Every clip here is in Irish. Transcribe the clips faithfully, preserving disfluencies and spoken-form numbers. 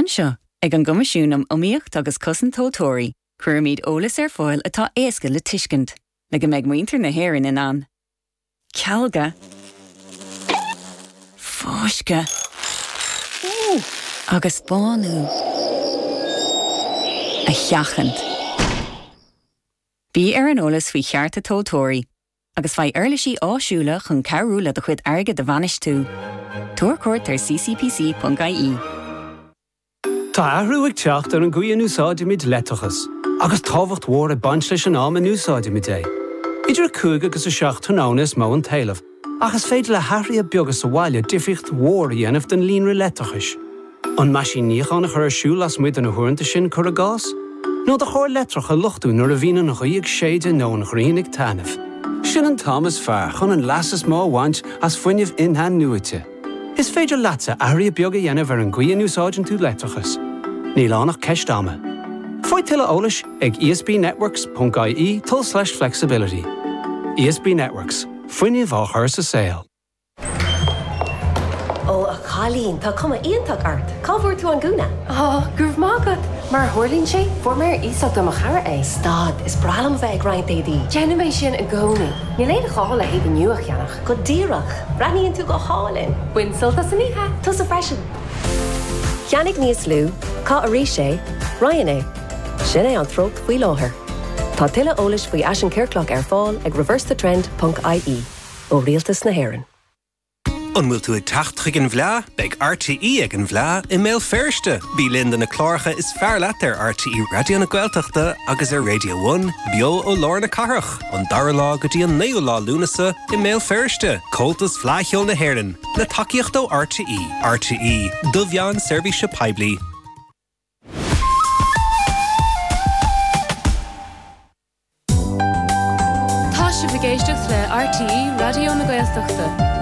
Anseo ag an gCoimisiún um Iomaíocht agus Cosaint Tomhaltóirí, cuirimid eolas ar fáil atá éasca le tuiscint, le go mbeidh muintir na hÉireann in ann. Cealga Fáisceadh agus bánú a sheachaint. Bí ar an eolas faoi chearta tomhaltóirí, agus faigh uirlisí áisiúla chun cabhrú le do chuid airgid a bhainistiú. Tabhair cuairt ar ccpc.ie. Tá athrú ag teacht ar an gcaoi a n-úsáidimid leictreachas, agus tábhacht mhór ag baint leis an am a n-úsáidimid é. Idir a cúig agus a seacht tráthnóna is mó an t-éileamh, ach is féidir le hathruithe beaga sa bhaile difríocht mhór a dhéanamh don líonra leictreachais. An meaisín níocháin a chur ar siúl lasmuigh de na huaireanta sin cuir i gcás? Nó do charr leictreach a luchtú nuair a bhíonn an ghaoth ag séideadh nó an ghrian ag taitneamh. Sin an t-am is fearr chun an leas is mó a bhaint as fuinneamh in-athnuaite. Is féidir leatsa athruithe beaga a dhéanamh ar an gcaoi a n-úsáideann tú leictreachas. Níl ann ach ceist ama. Faigh tuilleadh eolais ag ESBnetworks.ie tulslais flexibility. ESB Networks, fuinneamh á chur sa saol. Ó a chailín tá cuma iontach ort, Cá bhfuair tú an gúna? Á go raibh maith agat, mar a tharlaíonn sé fuair mé ar iasacht ó mo chara é. Stad is breá liom bheith ag roinnt éadaí. Déanaim é sin i gcónaí. Níl aon ghá le héadaí nua a cheannach. Go díreach, breathnaíonn tú go hálainn. Bain sult as an oíche. Tusa freisin. Ceannaigh níos lú, caith arís é, roinn é. Sin é an treocht faoi láthair. Tá tuilleadh eolais faoi fhaisean ciorclach ar fáil ag reversethetrend.ie ó Rialtas na hÉireann. An bhfuil tú ag teacht chuig an bhFleá, beidh RTÉ ag an bhFleá i mBéal Feirste. Bí linn do na cláracha is fearr leat ar RTÉ Raidió na Gaeltachta agus ar Radio One, beo ó lár na cathrach, an dara lá go dtí an naoú lá Lúnasa i mBéal Feirste, Comhaltas Fleadh Cheoil na hÉireann, le tacaíocht ó RTÉ, RTÉ, do mheán seirbhíse poiblí. Tá sibh ag éisteacht le RTÉ Raidió na Gaeltachta.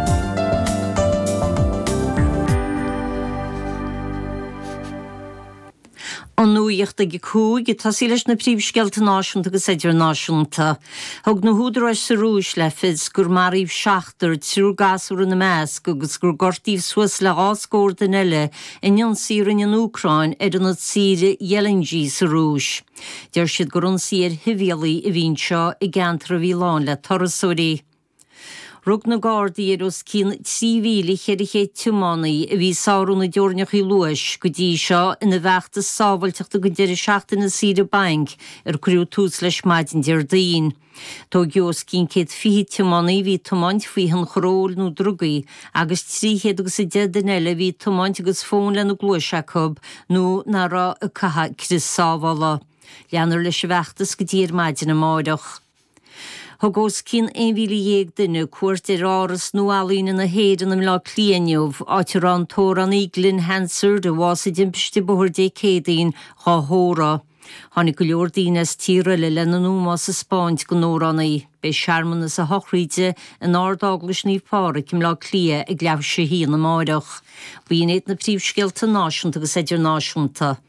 An nuacht ag a cúig ag tosaí leis na príomhscéalta náisiúnta agus idirnáisiúnta. Thug na húdaráis sa Rúis le fios gur maraíodh seachtar triúr gasúr ina measc agus gur gortaíodh suas le dhá scór duine eile in ionsaí a rinne an Úcráin ar ionad saoire Ghelendzhik sa Rúis. Deir siad gur ionsaí ar shibhialaigh a bhí anseo i gceantar a bhí lán le turasóirí. Rug na Gardaí ar os cionn trí mhíle cheithre chéad tiománaí a bhí ag sárú na dteorainneacha luais go dtí seo ina bhfeachtas sábháilteachta don deireadh seachtaine saoire bainc ar cuireadh tús leis maidin Déardaoin. Tógadh os cionn céad fiche tiománaí a bhí ag tiomáint faoi thionchar óil nó drugaí agus trí chéad agus a deich duine eile a bhí ag tiomáint agus fón lena gcluais acu nó nach raibh ag caitheamh crios sábhála. Leanfar leis an bhfeachtas go dtí ar maidin amárach. Thug os cionn aon mhíle dhéag duine cuairt ar Áras Nua-Ealaíne na hÉireann i mBleá Cliath inniu, áit a raibh an t-amhránaí Glen Hansard, a bhásaigh i dtimpiste bóthair Dé Céadaoin, dhá thórramh. Tháinig go leor daoine as tíortha eile lena n-ómós a 'spáint don amhránaí. Beidh searmanas a shochraide in Ard-Eaglais Naomh Pádraig i mBleá Cliath ag leathuair tar éis a haon amáireach. B'in iad na príomhscéalta náisiúnta agus idirnáisiúnta.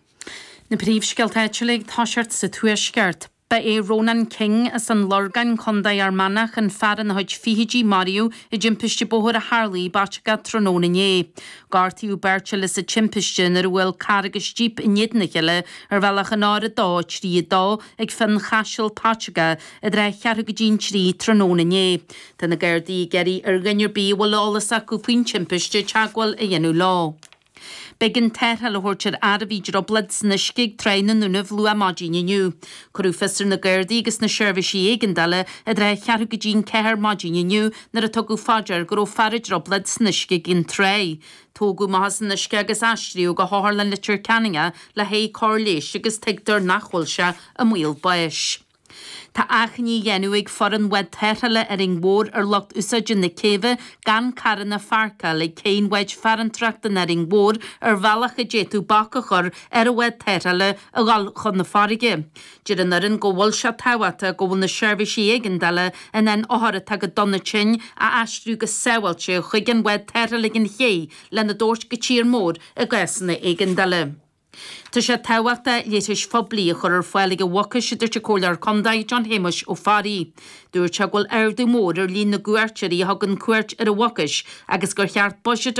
Na príomhscéalta áitiúla ag toiseacht sa Tuaisceart. Ba é Ronan King as an Lorgain, Contae Fhear Manach, an fear ina chuid fichidí a maraíodh i dtimpiste bóthair a tharla i bPaiteagá tráthnóna inné. Gortaíodh beirt eile sa timpiste nuair a bhuail carr agus jíp in éadan a chéile ar bhealach an R a dó, trí a dó ag Fionn Chaisil, Paiteagá, i dtrátha cheathrú go dtí an trí tráthnóna inné. Tá na Gardaí ag iarraidh ar dhuine ar bith a bhfuil eolas acu faoin timpiste teagmháil a dhéanamh leo. B'éigean tarrtháil a thabhairt ar fhear a bhí i dtrioblóid san uisce ag Tráigh na nDúnaibh luath maidin inniu. Cuireadh fios ar na Gardaí agus na seirbhísí éigeandála i dtrátha cheathrú go dtí an ceathair maidin inniu nuair a tugadh fá dear go raibh fear i dtrioblóid san uisce ag an tráigh. Tógadh amach as an uisce agus aistríodh go hOtharlann Leitir Ceanainn é le haghaidh cóir leighis agus tuigtear nach bhfuil sé i mbaol báis. Tá achainí á dhéanamh ag foireann bhád tarrthála Árainn Mhór ar lucht úsáide na céibhe gan carranna a pháirceáil ag céidh an bháid farantóireachta in Árainn Mhór ar bhealach a d'fhéadfadh bac a chur ar an bhád tarrthála a dhul chun na farraige. Deir an fhoireann go bhfuil sé tábhachtach go bhfuil na seirbhísí éigeandála in ann othair atá go dona tinn a aistriú go sábháilte chuig an bhád tarrthála ag an ché lena dtabhairt go tír mór i gcásanna éigeandála. Tá sé tábhachtach leithris phoiblí a chur ar fáil ag an Mhucais, a dúirt an Comhairleoir Contae John Shéamuis Ó Fearraigh. Dúirt sé go bhfuil ardú mór ar líon na gcuairteoirí a thugann cuairt ar an Mhucais agus gur cheart buiséad